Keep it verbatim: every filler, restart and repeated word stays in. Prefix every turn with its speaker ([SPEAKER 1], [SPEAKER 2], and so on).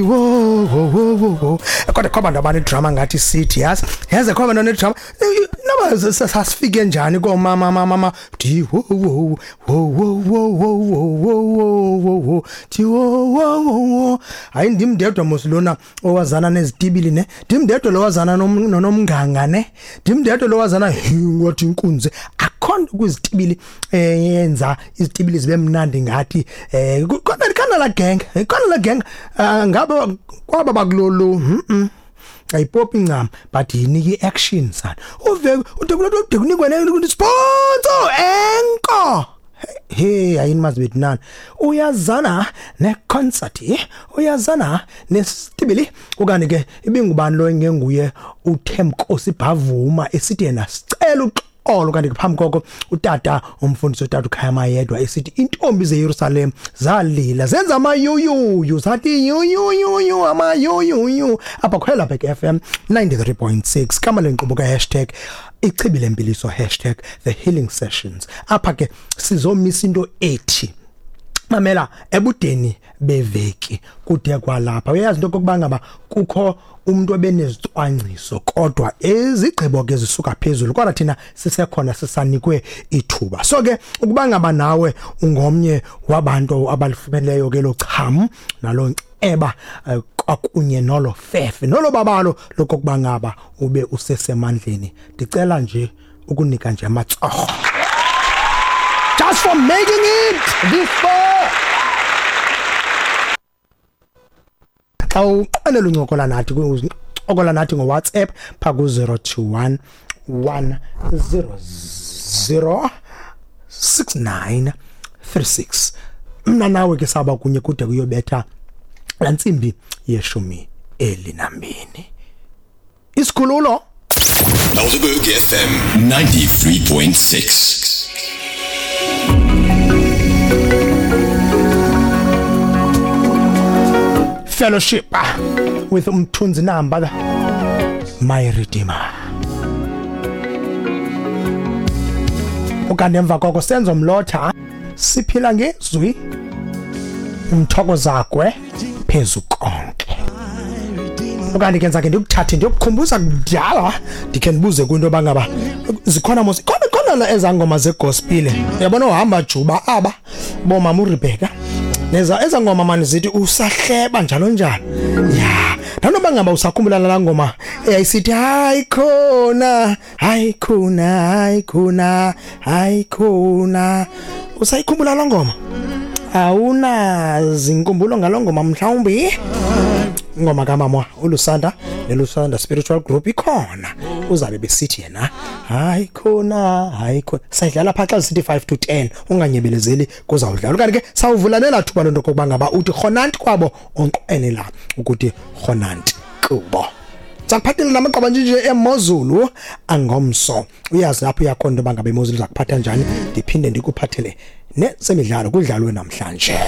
[SPEAKER 1] Wo wo wo wo wo, kodwa kho abantu abanedrama ngathi sithi, yazi yazi kho abantu abanedrama. Noba sasifike njani koomama mama di wo wo wo wo wo wo wo wo wo wo di wo wo wo. Hayi, ndim ndedwa mos lona owazana nezitibili ne, ndim ndedwa lo wazana nonomnganga ne, ndim ndedwa lo wazana wathi inkunzi akho nto kwizitibili eyenza izitibili zibe mnandi ngathi eh khona khona la gang, khona la gang ngabe kwaba bakulolu mhm ayipopi incam, but yinika iaction sana uve ude kude kunikwe ne sponsor enko. Hey, ayini mazi bethu nani, uyazana ne concert, uyazana nesitibili. Okanye ke ibingubani lo engenguye uThemkosi Bhavuma esithi yena sicela uxolo, kanti phambi koko utata umfundisi utata uKhaya Mayedwa esithi intombi zeYerusalem zalila zenza amayuyuyu zathi yuyuyuyu amayuyuyu. Apha khwela Back F M ninety-three point six kama lenkqubo ka hashtag ichibi lempiliso hashtag the healing sessions. Apha ke sizomisa into ethi mamela ebudeni beveki kude kwalapha. Uyazi into kokuba ngaba kukho umuntu obenezicwangciso kodwa ezigqibo ke zisuka phezulu, kodwa thina sisekhona sisanikwe ithuba. So ke ukuba ngaba nawe ungomnye wabantu abalifumeleyo ke lo cham nalo eba kwakunye nolo fefe nolo babalo lokokuba ngaba ube usesemandleni, ndicela nje ukunika nje amatsoho just for making it this far. Xa uqalela uncokola nathi uncokola nathi ngo-WhatsApp pha ku zero two one one zero zero six nine three six. Mna nawe ke saba kunye kude kuyobetha la ntsimbi yeshumi elinambini. Isikhululo
[SPEAKER 2] Helderberg F M ninety-three point six.
[SPEAKER 1] Fellowship with Mthunzi Namba, my Redeemer. Ukanti emva koko senzo mlotha siphila ngezwi umthokozakwe phezu konke. Ukanti ke nzake ndikuthathe ndiyokukhumbuza kudala ndikhe ndibuze kwinto bangaba zikhona mos khona khona ezangoma zegospel. Uyabona uhamba juba aba bomama uRebecca neza ezangoma mani zithi usahleba njalo njalo. Ya, nanoba ngaba usakhumbula la ngoma eyayisithi hayi khona hayi khona hayi khona hayi khona. Usayikhumbula la ngoma? Awuna zinkumbulo ngalongoma mhlawumbi? Ngoma kamama uLusanda neLusanda Spiritual Group ikhona, uzabe besithi yena hayi khona hayi khona. Sayidlala pha xa sithi five to ten, unganyebelezeli kuzawudlala. Kanti ke sawuvulanela thuba lonto kokuba ngaba uthi khonanti kwabo onqenela ukuthi khonanti kubo. Sakuphathele namaqaba nje emozulu angomso. Uyazi lapho uyakhona into bangabe imozulu zakuphatha njani, ndiphinde ndikuphathele nesemidlalo kudlalwe namhlanje.